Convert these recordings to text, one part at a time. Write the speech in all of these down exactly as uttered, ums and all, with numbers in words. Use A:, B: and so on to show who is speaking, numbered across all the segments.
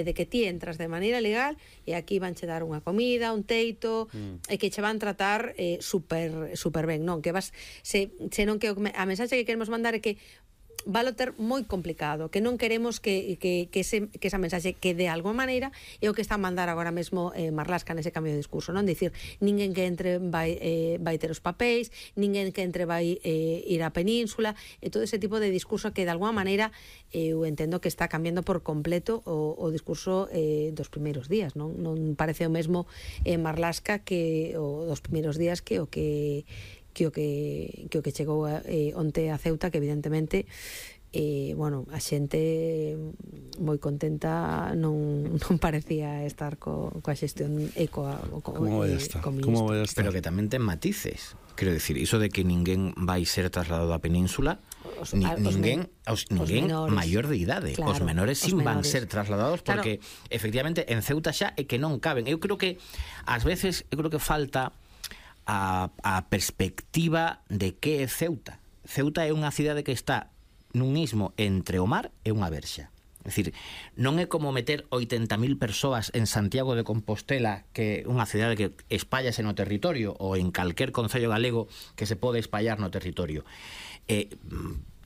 A: de que ti entras de maneira legal e aquí vanche dar unha comida, un teito, mm. e que che van tratar eh, super, super ben, non? Que vas, se, se non que a mensaxe que queremos mandar é que valo ter moi complicado, que non queremos que, que, que, ese, que esa mensaxe que de alguma maneira é o que está a mandar agora mesmo eh, Marlaska nese cambio de discurso, non? Dicir, ninguén que entre vai, eh, vai ter os papéis, ninguén que entre vai eh, ir á península, e todo ese tipo de discurso que de alguma maneira eh, eu entendo que está cambiando por completo o, o discurso eh, dos primeiros días, non? Non parece o mesmo eh, Marlaska que o dos primeiros días que o que que o que, que o que chegou eh, onte a Ceuta, que evidentemente eh, bueno, a xente moi contenta, non, non parecía estar co, coa xestión e coa, co,
B: como vai a estar? Como vai a estar?
C: Pero que tamén ten matices, quero decir, iso de que ninguén vai ser trasladado á península, os, ni, os ninguén, os, ninguén os maior de idade, claro, os menores sin van ser trasladados, porque claro, efectivamente en Ceuta xa é que non caben. Eu creo que ás veces eu creo que falta A, a perspectiva de que é Ceuta. Ceuta é unha cidade que está nun istmo entre o mar e unha verxa. É dicir, non é como meter oitenta mil persoas en Santiago de Compostela, que é unha cidade que espállase no territorio, ou en calquer concello galego que se pode espallar no territorio. Eh,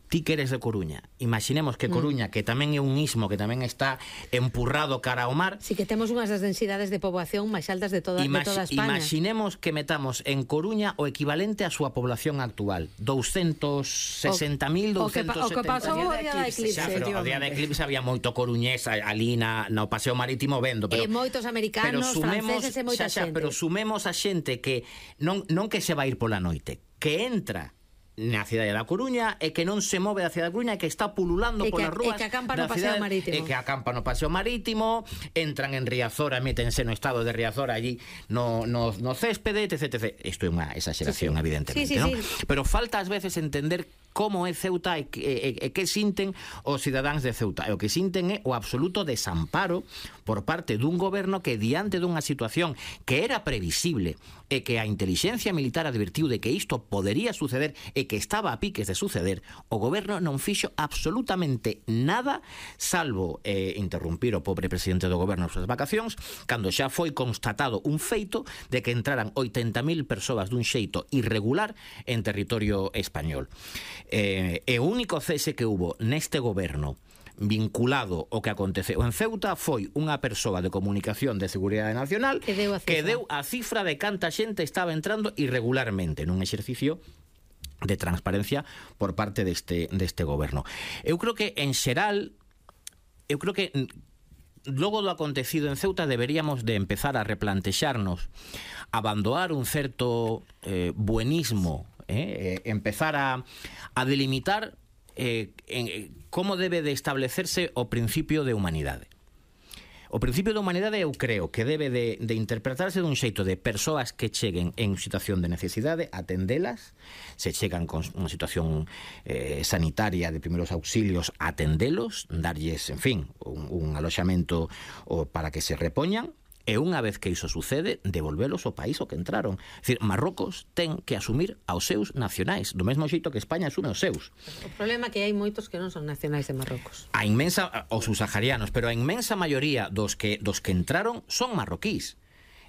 C: ti que eres de Coruña, imaginemos que Coruña, mm. que tamén é un istmo, que tamén está empurrado cara ao mar.
A: Si que temos unhas das densidades de poboación máis altas de toda, de toda España.
C: Imaginemos que metamos en Coruña o equivalente á súa población actual, doscientos sesenta mil, doscientos setenta.
A: O que pasou o día da eclipse.
C: O día da eclipse había moito coruñés ali na, no paseo marítimo vendo, pero
A: e moitos americanos,
C: sumemos,
A: franceses e moita
C: xa, xa,
A: xente.
C: Pero sumemos a xente que non, non que se vai ir pola noite, que entra na cidade da Coruña e que non se move da cidade da Coruña, e que está pululando polas rúas,
A: e que acampa no paseo marítimo,
C: e que acampa no paseo marítimo, entran en Riazora, métense no estado de Riazora allí no, no, no céspede, etc, etcétera. Isto é unha exageración, sí, sí, evidentemente,
A: sí, sí,
C: ¿no?
A: Sí.
C: Pero falta ás veces entender como é Ceuta e que, e, e que sinten os cidadáns de Ceuta. E o que sinten é o absoluto desamparo por parte dun goberno que, diante dunha situación que era previsible e que a inteligencia militar advertiu de que isto podería suceder e que estaba a piques de suceder, o goberno non fixo absolutamente nada, salvo eh, interrumpir o pobre presidente do goberno nas súas vacacións, cando xa foi constatado un feito de que entraran oitenta mil persoas dun xeito irregular en territorio español. Eh, e o único cese que hubo neste goberno vinculado ao que aconteceu en Ceuta foi unha persoa de comunicación de Seguridade Nacional
A: que deu a cifra,
C: que deu a cifra de canta xente estaba entrando irregularmente nun exercicio de transparencia por parte deste, deste goberno. Eu creo que en xeral eu creo que logo do acontecido en Ceuta deberíamos de empezar a replantexarnos, abandonar un certo eh, buenismo, eh, empezar a, a delimitar eh, en, eh, como debe de establecerse o principio de humanidade. O principio de humanidade eu creo que debe de, de interpretarse dun xeito de persoas que cheguen en situación de necesidade, atendelas, se chegan con unha situación eh, sanitaria de primeiros auxilios, atendelos, darlles, en fin, un, un aloxamento o, para que se repoñan, e unha vez que iso sucede, devolvelos ao país ao que entraron. É dicir, Marrocos ten que asumir aos seus nacionais, do mesmo xeito que España asume os seus.
A: O problema é que hai moitos que non son nacionais de Marrocos.
C: A inmensa, os subsaharianos, pero a inmensa maioría dos que, dos que entraron son marroquís.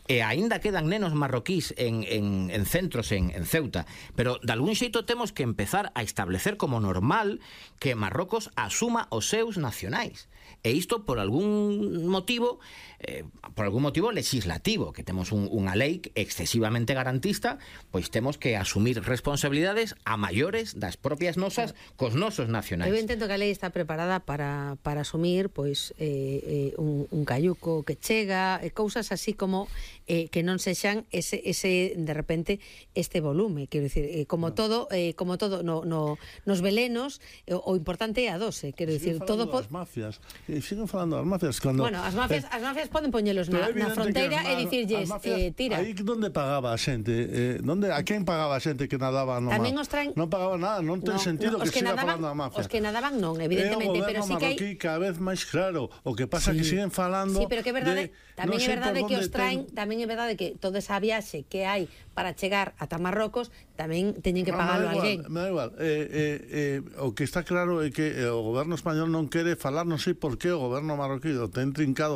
C: E aínda quedan nenos marroquís en, en, en centros en, en Ceuta, pero de algún xeito temos que empezar a establecer como normal que Marrocos asuma os seus nacionais. E isto por algún motivo eh, por algún motivo legislativo, que temos un, unha lei excesivamente garantista, pois temos que asumir responsabilidades a maiores das propias nosas cos nosos nacionais.
A: Eu entendo que a lei está preparada para, para asumir pois eh, eh, un, un cayuco que chega, e cousas así como eh, que non sexan ese, ese de repente este volume, quero dicir, eh, como no. todo eh, como todo no, no, nos velenos, eh, o importante é a dose, quero dicir, todo
B: das mafias. E siguen falando das mafias cando
A: Bueno, as mafias, eh, as mafias poden poñelos na, na fronteira e dicirlles, eh, tira.
B: Aí onde pagaba a xente? Eh, onde, a quen pagaba a xente que nadaba no mar?
A: Tamén os traen...
B: Non pagaba nada, non ten no, sentido
A: no,
B: que, que siga
A: nadaban,
B: falando da mafia.
A: Os que nadaban non, evidentemente, pero sí que hai...
B: cada vez máis claro, o que pasa sí. que siguen falando...
A: Sí, pero que é verdade,
B: de,
A: tamén
B: no
A: é verdade que os traen,
B: ten...
A: tamén é verdade que toda esa viaxe que hai para chegar ata Marrocos tamén teñen que
B: No,
A: pagalo
B: me da igual,
A: alguén.
B: me da igual. Eh, eh, eh, o que está claro é que eh, o goberno español non quere falar, non sei por que o goberno marroquí o ten trincado